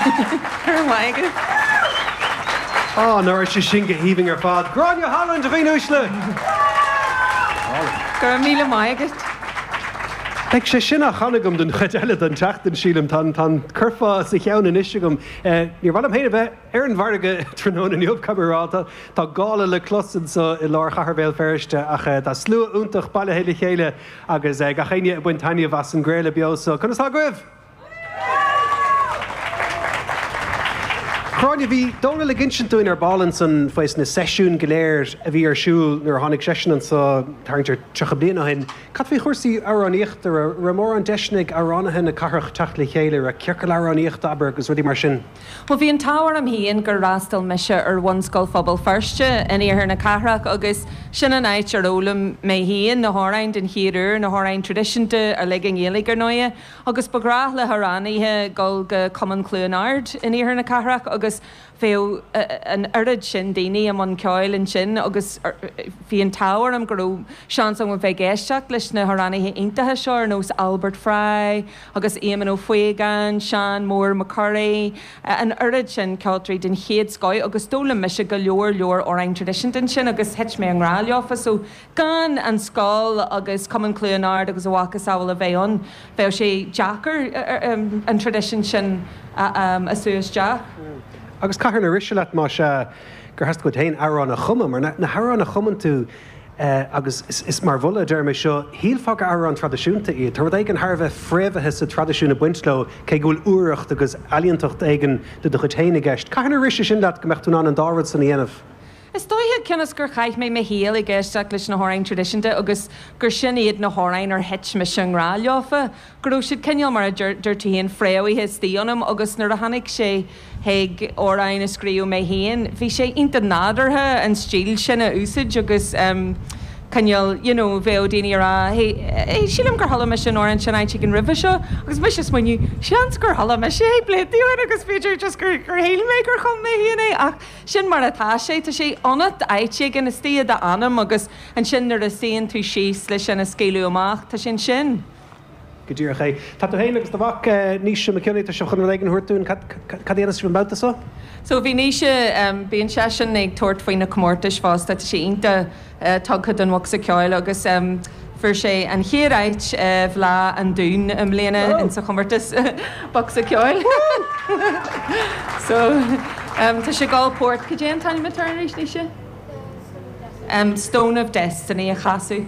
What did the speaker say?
Go raibh maith agat. Á, nach raibh sé sin go haoibhinn ar fad. Gráinne Holland, a dhaoine uaisle! Go raibh míle maith agat. Beidh sé sin á chanadh agam don chuid eile den tseachtain, sílim. Tá an curfá sa cheann anois agam. Níor mhaith liom féin a bheith ar an bhfarraige tráthnóna inniu, caithfidh mé a rá. Tá gála le clos anseo i lár chathair Bhéal Feirste ach tá slua iontach bailithe le chéile agus gach éinne ag baint taitneamh as an gcraoladh beo seo. Conas tá agaibh? Gráinne, bhí Dónal ag insint dúinn ar ball ansan faoi na seisiúin go léir a bhí ar siúl nuair a tháinig seisean anso tarraingt ar 30 bliain ó shin. Cad faoi chúrsaí amhránaíochta? Raibh mórán deiseanna ag amhránaithe na cathrach teacht le chéile? Raibh ciorcal amhránaíochta, abair, agus rudaí mar sin? Bhuel, bhí an t-ádh orm féin gur fhreastail mise ar Bhunscoil Phobal Feirste in iarthar na cathrach agus sin an áit ar fhoghlaim mé féin na hamhráin den chéad uair, na hamhráin traidisiúnta uilig i nGaeilge, ar ndóighe. Agus ba ghnách le hamhránaithe dul go Cumann Chluain Ard in iarthar na cathrach agus bheadh an oiread sin daoine i mbun ceoil ansin agus bhí an t-ádh orm go raibh seans agam a bheith ag éisteacht leis na hamhránaithe iontacha seo ar nós Albert Fry agus Éamonn Ó Faogáin, Seán Mór Mac Corraidh, an oiread sin ceoltóirí den chéad scoth agus d'fhoghlaim mise go leor leor amhráin traidisiúnta ansin agus thit mé i ngrá leofa so Gan an scoil agus Cumann Chluain Ard agus a mhacasamhail a bheith ann, bheadh sé deacair an traidisiún sin a sú isteach. Agus cathain ar rith sé leat, más ea, gur theastaigh uait féin amhrán a chumadh? Mar na hamhráin a chumann tú, agus is mar mholadh a deirim é seo, shílfeá gur amhráin traidisiúnta iad. Tá rud éigin thar a bheith fréamhaithe sa traidisiún ag baint leo, cé go bhfuil úireacht agus ealaíontacht éigin de do chuid féin i gceist. Cathain ar rith sé sin leat go mbeadh tú in ann an dá rud san a dhéanamh? Is dóiche, cionn is gur chaith mé mo shaol ag éisteacht leis na hamhráin traidisiúnta agus gur sin iad na hamhráin ar thit mise i ngrá leofa, go raibh siad cineál, mar a deir tú féin, fréamhaithe istigh ionam agus nuair a tháinig sé chuig amhráin a scríobh mé féin, bhí sé iontach nádúrtha an stíl sin a úsáid agus cineál, you know, bheadh daoine ag rá, hey, hey, sílim gur chuala mise an amhrán sin áit éigin roimhe seo agus mise ag smaoineamh, seans gur chuala mise é blianta ó shin agus b'fhéidir just gur, gur shíl mé gur chum mé féin é ach Sin mar atá sé. Tá sé ionat áit éigin, istigh i d'anam agus ansin nuair a suíonn tú síos le sin a scaoileadh amach, tá sé ansin. Go díreach é. Tá tú féin agus do mhac, Naoise Mac Cionnaith, tá sibh chun rud éigin a thabhairt dúinn. Cad, cad a dhéanfas sibh an babhta seo? So bhí Naoise, bíonn seisean ag tabhairt faoi na comórtais fosta, tá sé iontach tugtha don bhocsa ceoil agus fuair sé an chéad áit i bhFleadh an Dúin i mbliana insa chomórtas bocsa ceoil. So tá sé ag dul port, cad é an t-ainm atá air arís, Naoise? Stone of Destiny a chasadh.